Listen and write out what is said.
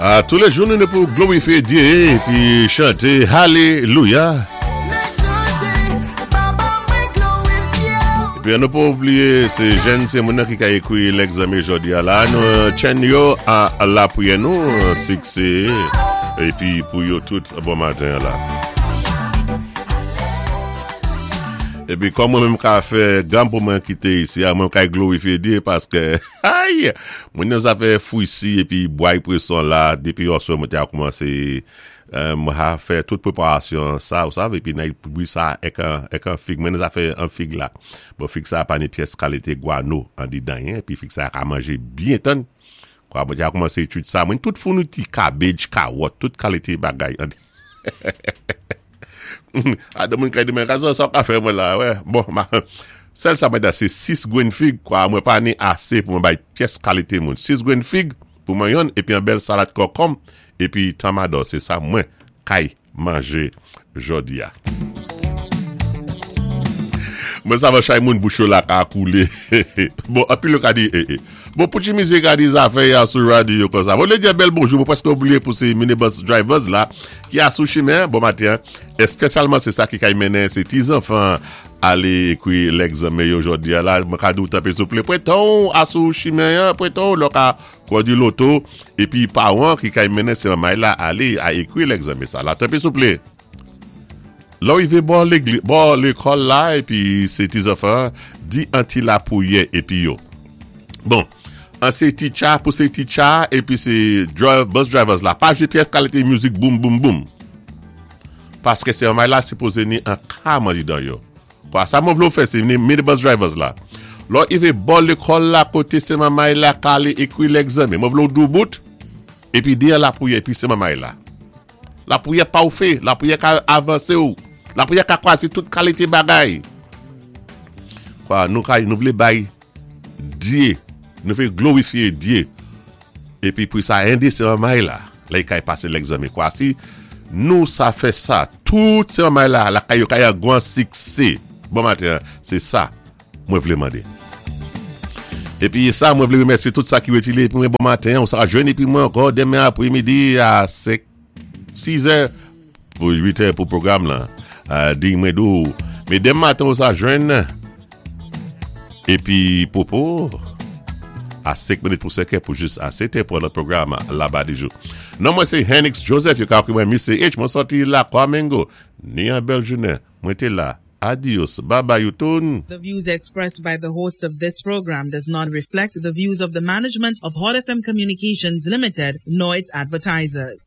A toulé jou nou ni pou glorifyé Dyé épi chanté Alelouya. Épi an nou pa oubliyé sé jèn ti moun nan ki ka ékwi lègzanmen jòdi a la nou tchenn yo a lapriyè nou siksé épi pou yo tout bon maten an la. Epi kòm mwen menm ka fè gam pou mwen kite isi a mwen kay glorifye Dye paske ayy mwen nan zafè fwisi epi bway preson la depi yòswè mwen te a koumanse mwen ha fè tout preparasyon sa ou sav epi nan bwi sa ek an fig mwen nan zafè an fig la bon fig sa pa ni pyès kalite gwano andidan yen epi fig sa ka manje byen tann kwa mwen te a koumanse etid sa mwen tout founiti kabej kawòt tout kalite bagay Adan moun kay di mwen kazan sa w ka fè mwen la wè bon ma sèl sa mwen da se 6 grenn fig kwa mwen pa ni ase pou mwen bay pyès kalite moun 6 grenn fig pou mwen yonn epi yon bèl salad kòkòm epi tamadò se sa mwen kay manje jodi a. Mwen sa van chay moun bouch yo la ka koule bon anpil yo ka di e e bon pou ti misye ka di zafè ya sou radio konsa bon le di bèl bonjou mwen preske oubliye pou se minibus drivers la ki a sou chimen bon maten espesyalman se sa ki kay mennen se ti zanfan ale ekri lègzanmen yo jodi a la mwen ka di w tanpri souple pweton w a sou chimen an pweton w lè w ka kondwi loto epi paran ki kay mennen se manmay la ale a ekri lègzanmen sa la tanpri souple. Lè w rive bò legli, bò lekòl la epi se ti zanfan an di an ti lapriyè epi yo. Bon, an se titcha pou se titcha epi se drive, bus drivers la pa jwe pyès kalite mizik boum boum boum. Paske se anmay la sipoze ni an kam andidan yo. Kwa sa mwen vle w fè se ni minibus drivers la. Lè w rive bò lekòl la kote se manmay la ka ale ekri lègzanmen mwen vle w doubout epi di an lapriyè epi se manmay la. Lapriyè pa ou fe, lapriyè ka avanse ou, lapriyè ka kwaze tout kalite bagay. Kwa nou ka, nou vle bay Dye, nou vle glorifye Dye. Epi pou sa ende se manmay la, lè kay pase lègzanmen. Kwa si nou sa fè sa, tout se manmay la, lakay yo kay an gwan sikse. Bon maten, se sa mwen vle mande. Epi sa mwen vle remèsye tout sa ki retile epi mwen bon maten, ou sa jwenn epi mwen ankò demen apre midi a 5, 6 è pou 8 è pou pwogram lan. Di mwen di w, men demen maten ou sa jwenn epi popo a 5 minit pou 5 è pou jis a 7 è pou lòt pwogram laba di jou. Non mwen se Henix Joseph, yo ka ekri mwen Misye H, mwen sòti Lakwa Mengo. Ni yon bèl jounen, mwen te la. Adios, bye bye you toun. The views expressed by the host of this program does not reflect the views of the management of Hot FM Communications Limited nor its advertisers.